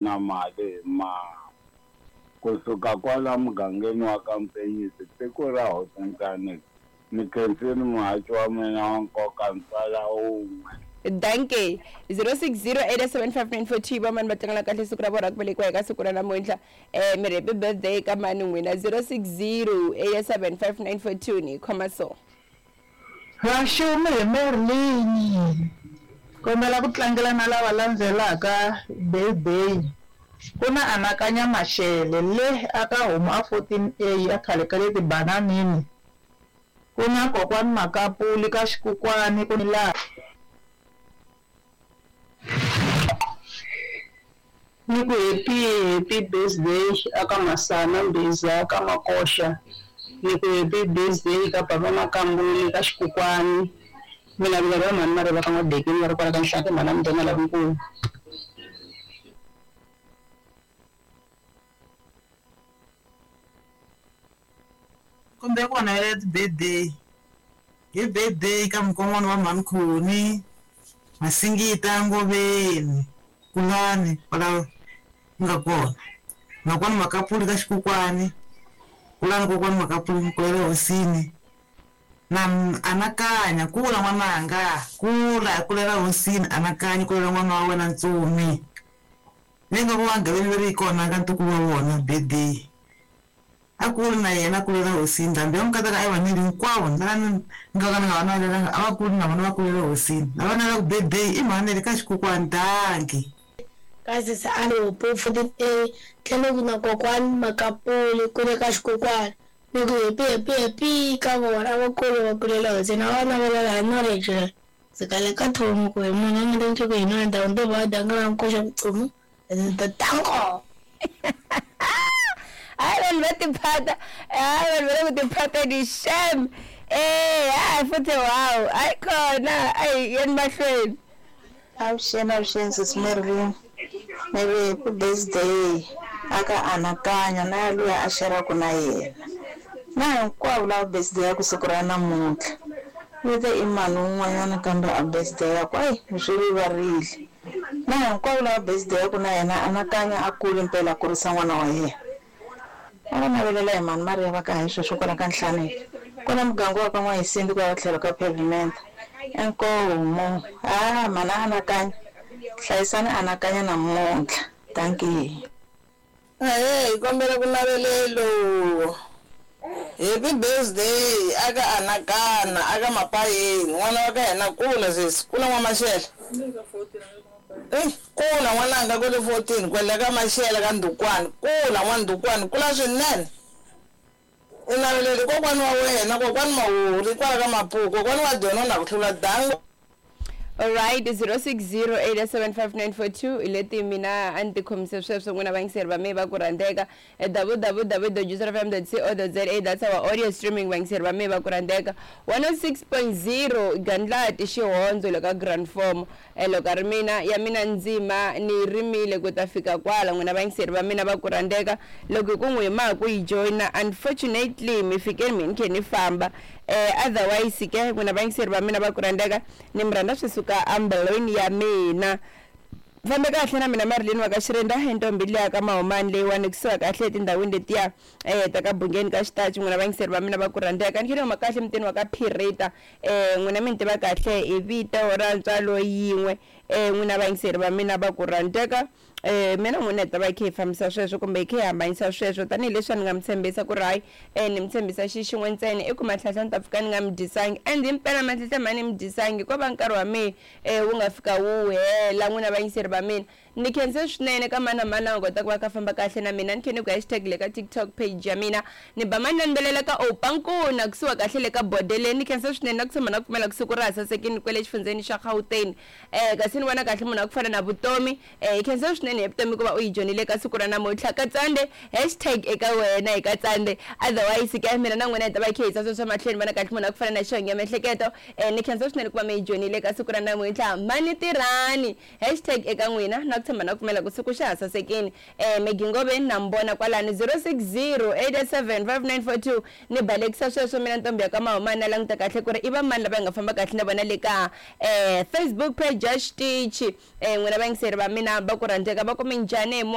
Na mali hi maha. Ku suka kwala mugangeni wa ka Mpenyisi, tiko ra Hosi Ni khensile muhaxi wa mina wa nkoka ntswala wun'we. Dankie. 06087594 va mani va tlangela kahle siku ra vona ra ku velekiwa eka siku ra namuntlha. Mi ri happy birthday ka mani n'wina? 06087594 ni khoma so. Vaxumi hi Merlin. Kombela ku tlangela na lava landzelaka birthday. Ku na Anakanya Mashele le aka Homu a 14A a khale ka le Tibananini. Ku na Kokwani Makapuli ka Xikukwani ku la. Ni ku happy happy birthday aka Masana Mbhiza ka Makoxa. Ni ku happy birthday ka Papa Makambuli ka Xikukwani. Mina vila va mhani Mareva ka N'wa-Dekeni va ri kwala ka Nhlati mhana Mudena lavankulu. Kumbe ku navela ti-birthday hi birthday ka mukon'wana wa mhani Khoni Masingita Ngoveni Kulani kwala ku nga kona makwani Makapuli ka Xikukwani Kulani kokwani Makapuli kulela hosini na anakanya kula n'wananga kula kulela hosini anakanya kulela n'wana wa wena ntsumi leyi nga ku va gaveni leri yi kona ka ntukulu wa vona birthday a kuli na yena a kulela hosini ndhambi ya mukataka a yi va neli hinkwavo lava ni nga ka ni nga va navelelanga a va kuli na vona va kulela hosini lava navelaka birthday i mhani ka Xikukwani dankie. Ka sesi a ni hope 14A tlhelo ku na kokwani Makapuli kule ka Xikukwani ni ku happy happy happy ka vona a va kule va kulela hosini a va navelela hi knowledge leyi ndzi kale ka thomu ku hi munhu a nga ta ku hi nona ndhawu ndo va dangala nkoxa vutomi ndzi ta tango. Hayi vanhu va tiphata, hayi vanhu va le ku tiphateni xem. Eh, hayi futhi wow, hayi khona, ayi yeni mahlweni. Avuxeni avuxeni sesi Merlin ni ri happy birthday aka Anakanya na ya luya a xeraka na yena na hinkwavo lava birthday ya ku siku ra namuntlha ni te i mani un'wanyana kambe a birthday ya ku ayi ni swi rivarile na hinkwavo lava birthday ya ku na yena Anakanya a kule mpela a kurisa n'wana wa yena a va navelela hi mhani Mariya va ka hi sweswo kwala ka Nhlaneki kwala muganga wa ka N'wahisindi kwala tlhelo ka pavement inkomu ha mhani Anakanya hlayisani Anakanya namuntlha dankie. Ahee hi kombela ku navelelo happy birthday aka Anakana aka Mapayeni n'wana wa ka hina kula sesi kula n'wa Maxele eyi kula n'wananga kwele 14 kwele ka Maxele ka Ndukwani kula n'wa Ndukwani kula swinene u naveleli kokwani wa wena kokwani Mawuri kwala ka Mapuku kokwani wa dyona na ku hlula dango. Alright, 06087594 hi leti mina a ni ti khomise sweswo n'wina vayingiseri va mehe va ku rhandzeka. www.juicefm.co.za that's our audio streaming vayingiseri va mehe va ku rhandzeka. 106.0 Gandlati Xihondzo le ka Grand Form. Loko a ri mina ya mina ndzima ni yi rimile ku ta fika kwala n'wina vayingiseri va mina va ku rhandzeka. Loko hi ku n'wi ma ha ku yi joyina unfortunately mi fike mi ni khe ni famba. Otherwise ke n'wina vayingiseri va mina va ku rhandzeka ni mi rhandza swi suka embilwini ya mina. Fambe kahle na mina Marilyn wa ka Xirenda i ntombi liya ka Mahumani leyiwani kusuka kahle etindhawini letiya ta ka Bungeni ka Xitachi n'wina vayingiseri va mina va ku rhandzeka ni khe ni huma kahle emutini wa ka Phirita n'wina mi ni tiva kahle hi vito ra ntswalo yin'we n'wina vayingiseri va mina va ku rhandzeka. Mina n'wina hi ta va hi khe hi fambisa sweswo kumbe hi khe hi hambanyisa sweswo tanihileswi a ni nga mi tshembisa ku ri hayi ni mi tshembisa xi xin'we ntsena i ku Matlhahla ni ta pfuka ni nga mi dyisangi and himpela Matlhahla ma ni mi dyisangi ko va nkarhi wa mehe wu nga fika wu hela n'wina vayingiseri va mina ni khense swinene ka mani na mani la nga kota ku va kha famba kahle na mina ni khe ni ku hashtag le ka TikTok page ya mina ni ba mani na ni belela ka Opankuna kusuka kahle le ka bodeleni ni khensa swinene na ku tshemba na ku pfumela ku siku ra ha sasekini kwele xifundzheni xa Gauteng kasi ni vona kahle munhu wa ku fana na Vutomi Hi khensa swinene he Vutomi ku va u yi joinile ka siku ra namuntlha. Katsande, hashtag eka wena hi Katsande. Otherwise ke mina na n'wina hi ta va hi khe hi yisa sweswo mahlweni vona kahle munhu wa ku fana na Xongi ya miehleketo. Ni khensa swinene ku va mi yi joinile ka siku ra namuntlha. Mhani tirhani, hashtag eka n'wina na ku tshemba na ku pfumela ku siku xa ha sasekini. Maggie Ngoveni na mi vona kwalano 060 887 5942 ni balekisa sweswo mina ntombi ya ka Mahumani na languta kahle ku ri i va mani lava hi nga famba kahle na vona le ka Facebook page ya xitichi. N'wina vayingiseri va mina va ku rhandzeka va ku minjhani hi.